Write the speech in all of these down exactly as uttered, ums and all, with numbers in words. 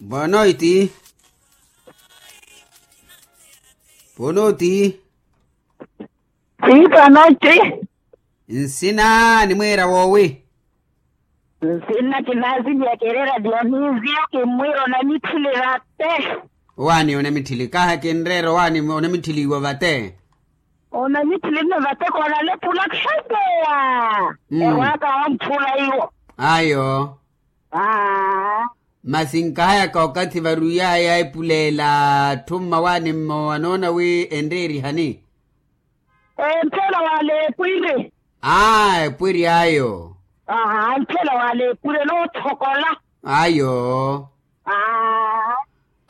Boa noite. Boa noite. Sim, boa noite. Nsina nimwiira woowi? Nsina kinaziliya kerera dionisio kimwiira onamitthili vate. Owaani onamitthili kaha kinreera owaani onamitthiliwa vate. Onamitthili nno vate koonale pula khapeya. Erwaaka wamphula iwo. Ayo. Masi nkahayaka okathi varuyaya epuleela atthu mmawaani mmowa anoona wi enreerihani. Emphela wale epwiri. Aa epwiri ayo. Aha emphela wale epwiri enoothokola. Ayo.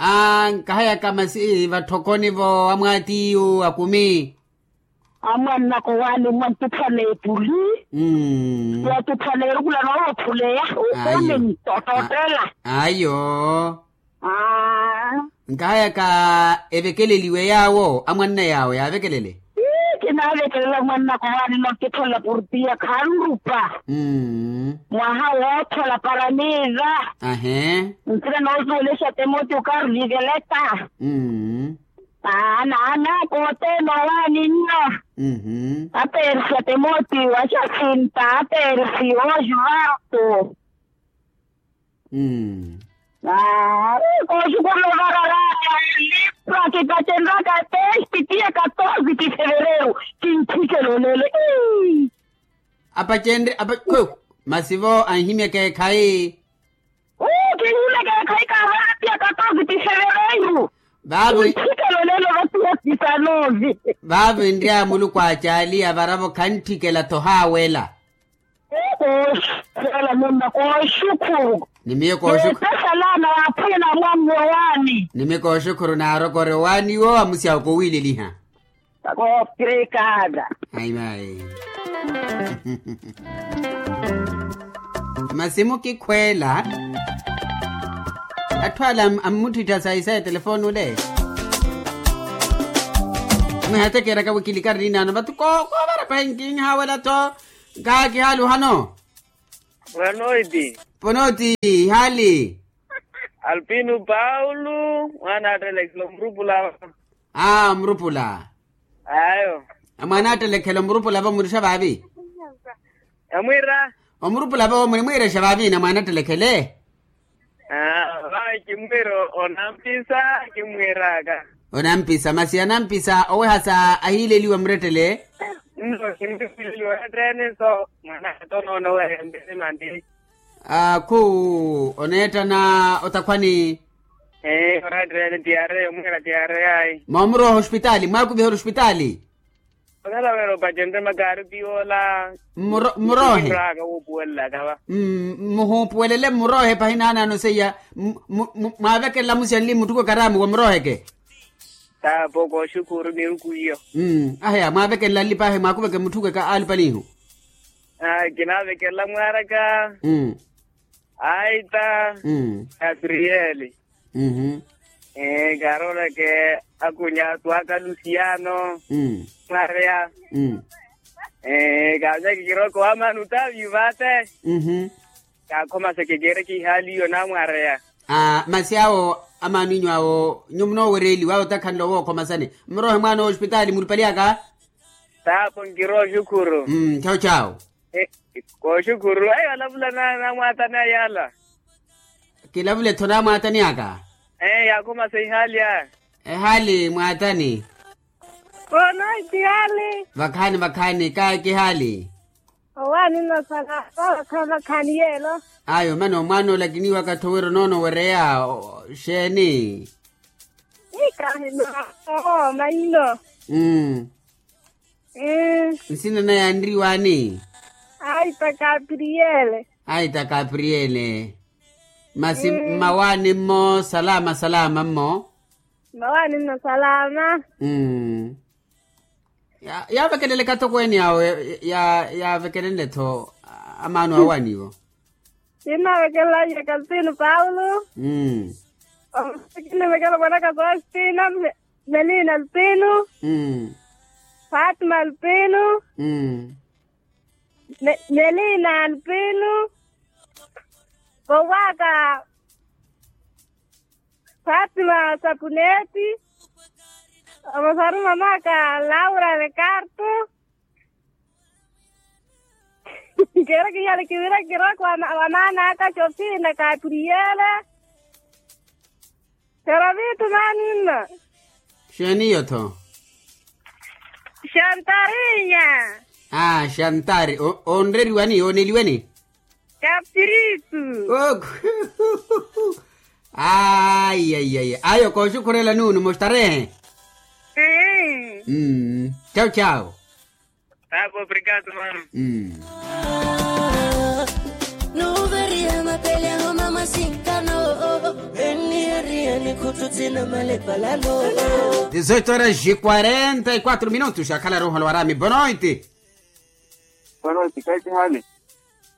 Aa nkahayaka masi vatthokoni vo amwaatiyu akumi. Amwannaka owaani mmwanttuphana epuli. Mmm. Yattuphana erukula noowothuleya. Ayo. Okomenyi otottela. Ayo. Aa. Nkahayaka evekeleliwe yaawo amwanna yaawo yaavekelele. Ii kinaavekelela mwannaka owaani nonttitholela portiya khanrupa. Mmm. Mwaha woothola paramiza. Ahee. Nsina noosuwela exatemote okaru viveleta. Mmm. Aa naana kooteena owaani nno. Apersia temotiwa axasinta apersi ojuvarto. Aa kooxukhurela ovararaya lipra kipacenraka testi tiya katorze ti fevereru. Kintthikela olelo. Apacenre apa masi vo anhimyaka ekhayi. Uu kinhimyaka ekhayi kaavara tiya katorze ti fevereru. Vaavi. Kintthikela olelo vatiya tisanove. Vaavi nrya muluku acaaliya varavo khantthikela-tho haawela. Kooxukhurela mumba kooxukhuru. Ni miyo kooxukhuru. Yeetthe salama waaphwanya na mwammi owaani. Ni miyo kooxukhuru naarokore owaani iwo amusyawo kowiileliha. Kooprekaada. Ayi mayi. Masi mukikhweela. Atthu ala ammuttittha sayi sayi telefoni ole. Mwihatekeraka wikilikari ninaano vatu koovara pahi nkinhaawela-tho. Nkaakihaali ohano. Boa noite. Boa noite ihaali. Alpino paulo mwaana attelekela omurupula. Aa omurupula. Ayo. Mwaana attelekela omurupula vo murixa vaavi? Yamwiira. Omurupula vo murimwiirexa vaavi na mwaana attelekhele? Aa vawe kimwiira onampisa. Kimwiiraka. Onampisa masi anampisa owehasa ahiileliwa murettele. Nno kimwiireliwa etteene so mwaana attonoona oweha embisi mandi. Khu oneettana otakhwani? Ee orettene tiyareya omwiira tiyareya ayi. Moomurooha ospitaali mwaakuviha ori ospitaali? Okhala wira opacenrye makaari ti yoola. Mmuroohe. Muhuupuwelele mmuroohe pahi naanaano seiya. Mwaavekelela musyanli muttuku ekaramu wa murooheke. Taapo kooxukhuru miruku iyo. Aheya mwaavekelela nlipahe mwaakuveke mutthukeke aalupanihu. Kinaavekelela mwaaraka. Aita. Kapriyeli. Karooleke. Akunya twaaka lusiyano. Mwareya. Kaanyeke kiroko wamani utaviyu vate. Kaakhomaseke keereke ihaali iyo namwareya. Masi awo amaano inyu awo nyuwo munoowereeliwa awo otakhanle owookhoma sani muroohe mwaana owospitaali muripali aka. Taapo nkirooxukhuru. Chawu chawu. Kooxukhuru ayi olavula namwaatani ayala. Kilavule-tho namwaatani aka. Ee yaakhomasa ihaali aya. Ehaali mwaatani. Koonoiti ihaali. Vakhaani vakhaani kaaki ihaali. Owaani nosala vakhaani vakhaani yeelo. Ayo mano mwaana olakiniwaka-tho wira onoonowereya. Xeeni? Ikahimaaho maino. Nsina naya anriwaani? Aita kapriyele. Aita kapriyele. Masi mmawaani-mmo salama salama-mmo. Mmawaani-mmo salama. Yaavekeleleka-tho kweeni awo yaavekelenle-tho amaano awaani-wo. Kinnaavekelela yekasitino paulo. Omusiki kinnivekela mwanaka sostina. Melina alpino. Fatima alpino. Melina alpino. Vowaka. Fatima sapuneti. Omosaru mamaka laura lekarto. Nkera kihale kivira kiroko wanaanaka chopina kapriyele. Karavitu naninna. Xeeni iyo-tho? Xantarinya. Ah, xantari. Onreriwani oneliweni? Kapiritu. Ayi ayi ayi ayo kooxukhurela nuunu mustarehe. Chau chau. Tava obrigado mano. Nuveriya mapele ahoma masinkano. Enieriya nikhututsina malepalano. Dezoito horas e quarenta e quatro minutos akhala ruholo warami bonoiti. Bonoiti kaitihani.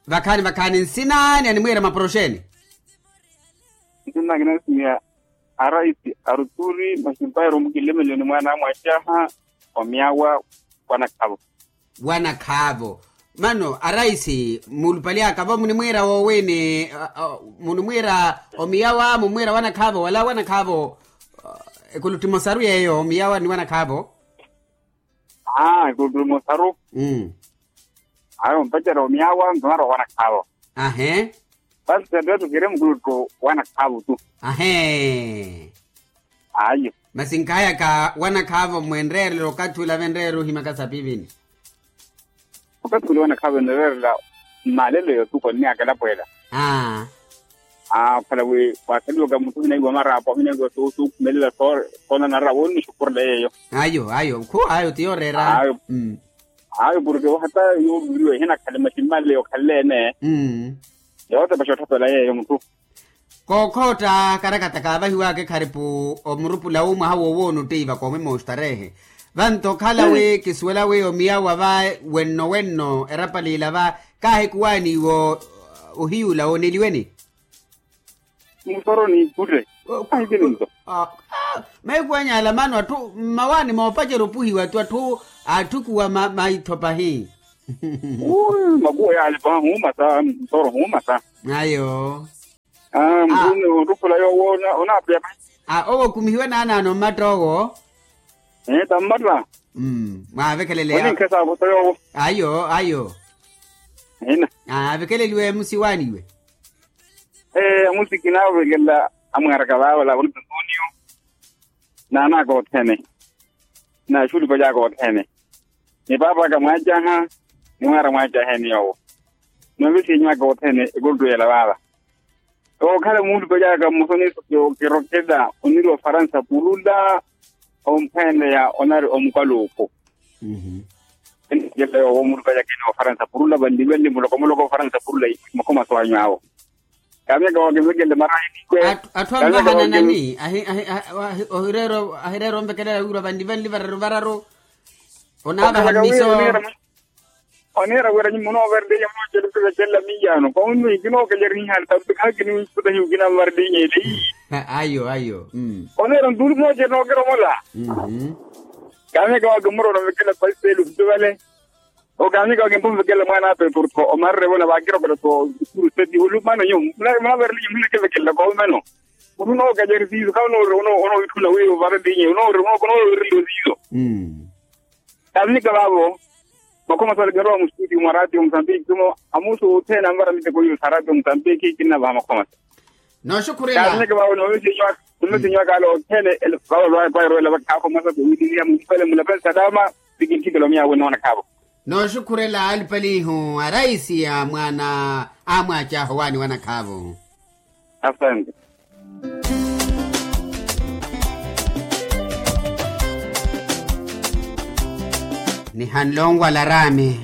Vakhaani vakhaani nsinani animwiira maporoxeni. Nsinani kinasimiya. Araisi aruturi masimpayi romukilemeliwe ni mwaana amwacaha. Omiyawa. Wanakhavo. Wanakhavo. Mano araisi muulupali aka vo munimwiira woowini? Munimwiira omiyawa mumwiira wanakhavo wala wanakhavo. Ekulutti mosaru yeeyo omiyawa ni wanakhavo. Aa ekulutti mosaru. Ayo mpacerya omiyawa ntumara owanakhaavo. Ahe. Vasi sentteettu kiri mukulutti owanakhaavo tu. Ahe. Ayo. Masi nkayaka wanakhaavo mwenreerela okathi ula venreera ohimaka sapivini. Okathi ula wanakhaavo enreerela mmalelo yotuko nniyaka elapweela. Aa. Aa okhala wi wakhaliwaka muthu ohinaiwa maraapo ohinaiwa sookhumelela soonanara woonixukhurela yeeyo. Ayo ayo khu ayo ti yooreera. Ayo. Ayo porke hata yooviriwa ehinakhale maximale yokhalele-ene. Yootepa xotthapela yeeyo mutthu. Kookhootta karakata kaavahiwaka ekharipu omurupula wu mwaha wowoona ottiiva koomwe moostarehe. Vanto okhala wi kisuwela wi omiyawa va wenno wenno erapaliila va kaahikuwaaniiwa ohiyuula wooneliweni. Musoro ni ikute. Ahikini nto. Mahiku anyaala mano atthu mmawaani moopacerya opuhiwa tu atthu aatthukuwa maitho pahi. Makuwa yaale paha huumasa musoro huumasa. Ayo. Mutuni ottupula yoowo onaapeya pahi. Owo okumihiwe naanaano mmatta owo. Ee tammatta. Mwaavekeleleya. Oninkhe saavosa yoowo. Ayo ayo. Ina. Aavekeleliwe musiwaaniwe. Ee amusi kinaavekelela amweeraka vaavo laavurutu ntuuniyo. Naanaka othene. Naaxulipa caaka othene. Ni paapaka mwaacaha. Ni mwaara mwaacaheni yoowo. Noovisinyaka othene ekuluttu yeela vaava. Ookhala muulupali aka mmosa oniiso kirokela oniri ofaransa purula. Omphweeneya onari omukaluuku. Enakela yoowo muulupali aka eni ofaransa purula vanlivanli muloko muloko ofaransa purula. Makhomaso anyu awo. Kaamyaka waakimvekelle marahi nikwe. Atthu anvahananani? Ohireera onvekelela wiirwa vanlivanli vararu vararu. Onaavaha mmiso. Oniira wira nyuwo munoovereliye munooceluke vekelela miyaano koonuwi kinookelerihiha tarutu khaakiniwiputahiwe kinanvarelihiye. Ayo ayo. Oniira ntuulu munoocerya nookiromola. Kaamyaka waakimurona vekelela paisiteeli ovituvale. Okaamyaka waakimpa onvekelela mwaana apeturto omarerevona vaakirokela to. Seti olumano nyuwo munaavereliye muhinakevekelela koomeno. Munookelerihiye siiso khawe onoowitthuna wiiwo varelihiye onoovereliye siiso. Kaamyaka vaavo. Makhomaso ale kinrowa mustutiyo mwa ratio musambiki khumo amusu othene anvara miteko iyo sa ratio musambiki kinnavaha makhomaso. Nooxukhurela. Kaamyaka vaavo noovisinyaka ale othene. Vaavo lwaye pwairowela vakhaakhomaso kuwitiliha mumpale mulapale salama. Sikinthikela omiyawe noona khaavo. Nooxukhurela alupalihu araisi ya mwaana amwaacaha owaani wanakhaavu. Asante. Nihanle onwala raami.